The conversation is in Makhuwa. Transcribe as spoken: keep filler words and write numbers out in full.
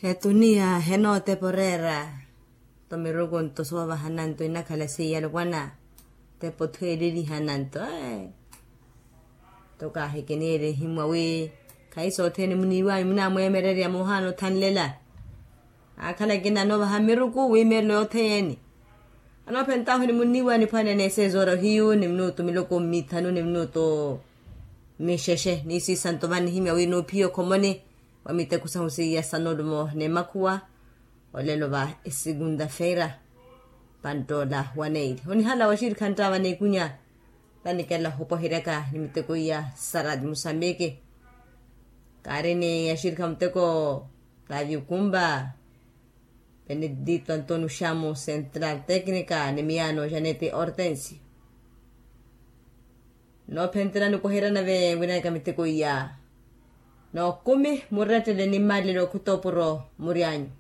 Etuniya henootepa oreera. Tomiruku nto soovahana nto inakhala seiya alopwana. Tepa othweeleliha nanto. Nto kaahikiniile ehimwa wi khayi sothene muniiwanyu munamweemererya moohaana othanlela. Aakhala akina anoovaha miruku wiimeerelo yothene. Anoophentahu ni muniiwa niphwaneene eseezoora ohiyu ni minutu miloko mmithanu ni minutu mixexe niisiisa nto vannihimya wi nuuphiya okhomoni wa miteko sahu seiya sanolumo n'emakhuwa. Olelo va esegunta feira panttoola waneili onihala waxirikha nttaava n'ekunya. Tanikela ohopwaheryaka ni miteko iya saradi musambiki. Kaari ni axirikha muteko tavi okumba benedito antonio xamo central tecnica ni miyaano janete hortensio. Noophenterya nikoherya nave winaka miteko iya. Nookumi murettele ni mmalelo khutopuro muryanyu.